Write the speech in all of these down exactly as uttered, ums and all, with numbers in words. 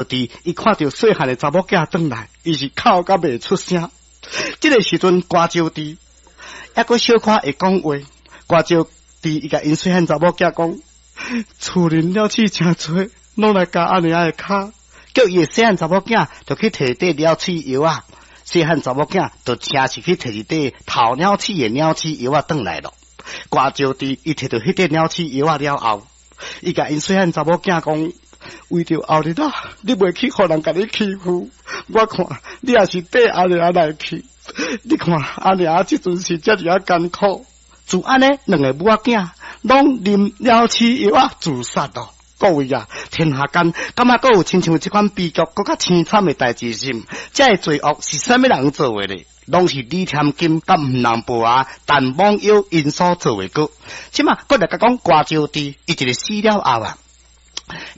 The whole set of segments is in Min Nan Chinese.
弟伊看著細漢的查某囝轉來，伊是哭甲袂出聲。這个時陣，瓜招娣猶閣小可會講話。瓜招娣伊共𪜶細漢查某囝講：厝裡鳥鼠誠濟，攏來咬阿娘的跤，叫伊的細漢查某囝就去提塊鳥鼠藥仔。細漢查某囝就誠實去提一塊頭鳥鼠的鳥鼠藥仔轉來囉。瓜招娣伊提著彼塊鳥鼠藥仔了後，伊共𪜶細漢查某囝講：為著後日啊，你袂去予人共你欺負，我看你也是綴阿娘來去。你看阿娘這陣是遮爾仔艱苦，就按呢兩个母仔囝攏啉鳥鼠藥仔自殺囉。各位啊，天下間感覺閣有親像這款悲劇，閣較凄慘的代誌是？這个罪惡是啥物人做的咧？攏是李添金佮吳人婆仔陳罔腰𪜶所做的果。這馬閣來共講瓜招娣，伊一个死了後啊，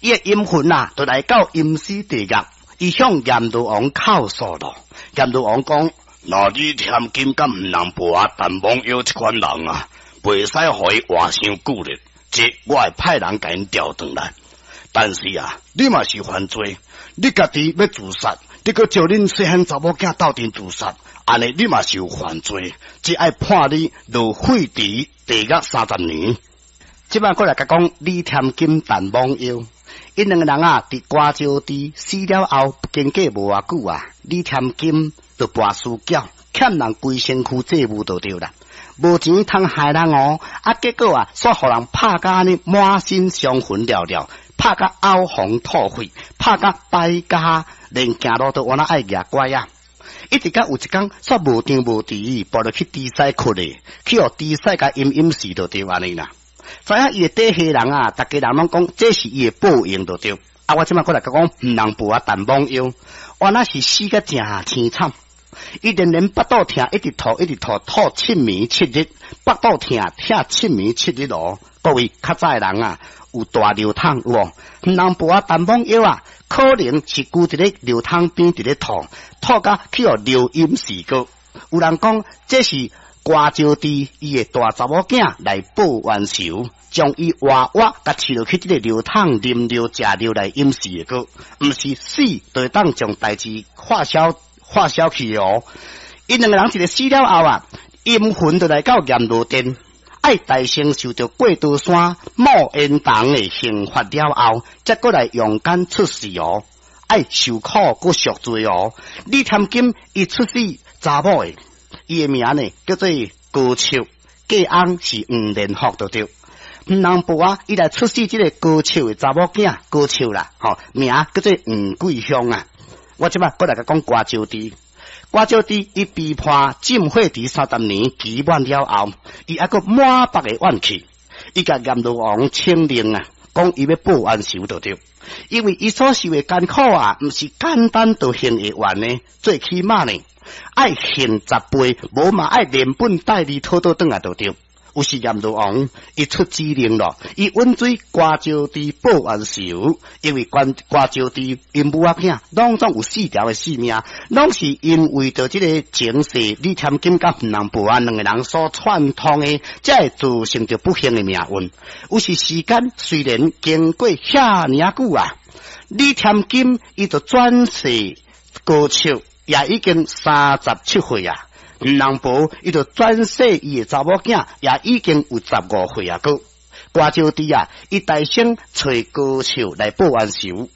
伊的陰魂啊，就來到陰司地獄，伊向閻羅王哭訴囉。閻羅王講：若李添金佮吳人婆仔陳罔腰這款人啊，袂使予伊活傷久咧，這我會派人共𪜶調轉來。但是啊，你嘛是犯罪，你家己欲自殺，你閣招恁細漢查某囝鬥陣自殺，按呢你嘛是有犯罪，這愛判你落沸池地獄三十年。這擺閣來共講李添金、陳罔腰，𪜶兩个人啊，佇瓜招娣死了後，經過無偌久啊，李添金就跋輸繳，欠人規身軀債務就對啦，無錢通害人哦，啊結果啊，煞予人拍甲按呢滿身傷痕了了。拍甲嘔紅吐血，拍甲敗家，連行路都倚若愛蜈拐仔。一直到有一工，煞無張無遲，跋落去豬屎窟咧，去予豬屎共淹淹死就對按呢啦。知影伊的底下人啊，逐家人攏講這是伊的報應就對。啊，我這擺閣來講，吳人婆仔陳罔腰，原來是死甲誠凄慘。伊連連腹肚疼，一直吐，一直吐，吐七暝七日，腹肚疼，疼七暝七日囉。各位較早的人啊，有大尿桶有無？吳人婆仔陳罔腰啊，可能是跍佇咧尿桶邊佇咧吐，吐甲去予尿淹死過。有人講這是瓜招娣伊的大查某囝來報冤仇，將伊活活共飼落去這个尿桶啉尿食尿來淹死的過，毋是死就會當將代誌化消化消去哦。𪜶兩个人一个死了後啊，陰魂就來到閻羅殿。愛代先受著過刀山冒煙筒的刑罰了後，才閣來陽間出世哦。愛受苦閣贖罪哦。李添金伊出世查某的，伊的名呢叫做高笑，嫁翁是黃連福就對。吳人婆仔，伊來出世這个高笑的查某囝高笑啦，吼名叫做黃桂香啊。我這擺閣來共講瓜招娣。瓜招娣伊被判浸火池三十年期滿了後，伊猶閣滿腹的怨氣，伊共閻羅王請令啊，講伊欲報冤仇就對，因為伊所受的艱苦啊，毋是簡單就還會完的，最起碼呢，愛還十倍，無嘛愛連本帶利討倒轉來就對。於是閻羅王伊出指令囉，伊允准瓜招娣報冤仇，因為關瓜招娣𪜶母仔囝攏總有四條的性命，攏是因為著這个前世李添金佮吳人婆仔兩个人所串通的，才會造成著不幸的命運。於是時間雖然經過遐爾仔久啊，李添金伊就轉世高笑，也已經三十七歲啊。吳人婆伊就轉世伊的查某囝，也已經有十五歲啊。閣瓜招娣啊，伊代先揣高笑來報冤仇。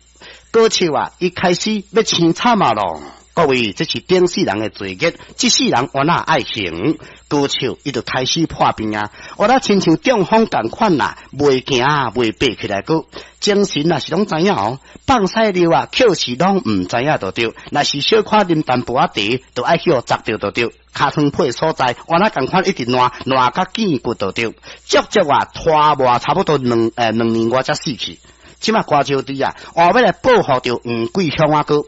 高笑啊，伊開始欲凄慘啊囉。各位，這是頂世人的罪孽，這世人原來愛還。高笑伊就開始破病啊，原來親像中風仝款啦，袂行袂爬起來閣精神啊是攏知影哦，放屎尿啊，確實攏毋知影就對。若是小可啉淡薄仔茶，就愛去予齧著就對。尻川皮所在，原來仝款一直爛爛甲見骨就對。足足啊拖磨差不多兩欸兩年外才死去。這馬瓜招娣啊，換欲來報復著黃桂香仔閣，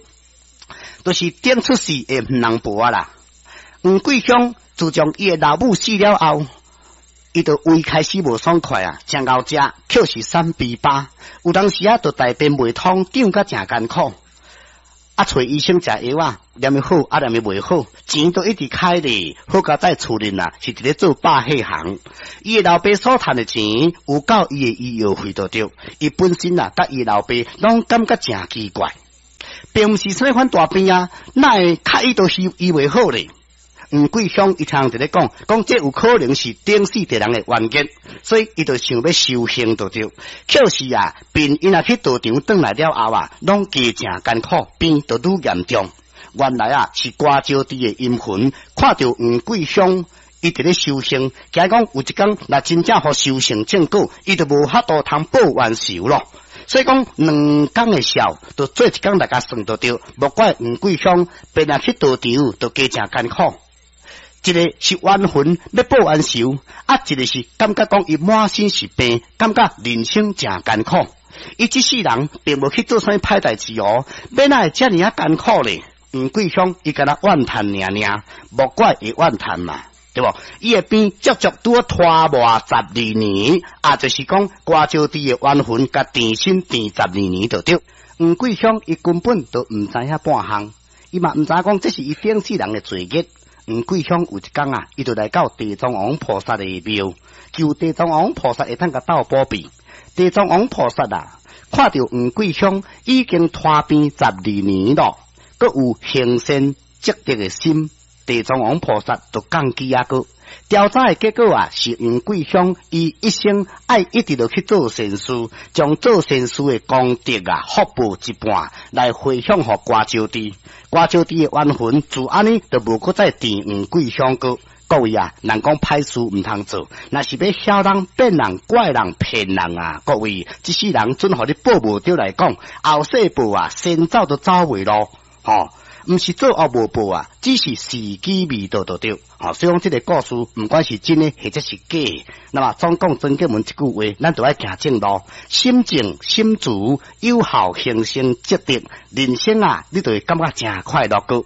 就是頂出世的吳人婆仔啦。黃桂香自從伊的老母死了後，伊就胃開始無爽快啊，誠𠢕食，確實三肥飽，有當時啊，就大便袂通，脹甲誠艱苦。啊，揣醫生食藥啊，念伊好，啊念伊袂好，錢都一直開咧。好佳哉厝裡啊，是佇咧做百貨行。伊的老爸所趁的錢有夠伊的醫藥費就對。伊本身啊，佮伊老爸攏感覺誠奇怪。並毋是啥物款大病啊，哪會較伊都醫醫袂好咧？黃桂香伊聽佇咧講，講這有可能是頂世地人的冤結，所以伊就想欲修行就對。可是啊，病𪜶若去道場轉來了後啊，攏加誠艱苦，病就愈嚴重。原來啊，是歌招娣的陰魂看著黃桂香伊佇咧修行，驚講有一工若真正予修成正果，伊就無法度通報冤仇咯。所以講兩工的數，就做一工來共算就對。莫怪黃桂香變若去道場，就加誠艱苦。一个是冤魂欲報冤仇，啊，一个是感覺講伊滿身是病，感覺人生誠艱苦。伊這世人並無去做啥物歹代誌哦，欲哪會遮爾仔艱苦咧？黃桂香伊敢若怨嘆爾爾，莫怪會怨嘆嘛，對無？伊的病足足拄拖磨十二年，啊，就是講歌招娣的冤魂共纏身纏十二年就對。黃桂香伊根本就毋知影半項，伊嘛毋知影講這是伊頂世人的罪孽。黃桂香有一工啊，伊就來到地藏王菩薩的廟，求地藏王菩薩會當共鬥保庇。地藏王菩薩啊，看著黃桂香已經拖病十二年咯，閣有行善積德的心，地藏王菩薩就降乩啊閣。調查的結果啊，是黃桂香伊一生愛一直落去做善事，將做善事的功德啊，福報一半來回向予歌招娣。歌招娣的冤魂自按呢就無閣再纏黃桂香閣。各位啊，人講歹事毋通做，若是欲痟人、變人、拐人、騙人啊，各位，這世人準予你報無著來講，後世報啊，先走都走袂落，吼。毋是做惡無報啊，只是時機未到就對。吼，所以講這个故事，毋管是真的或者是假的，那麼總講曾經文這句話，咱就愛行正路，心靜心慈，有效行善積德，人生啊，你就會感覺誠快樂閣。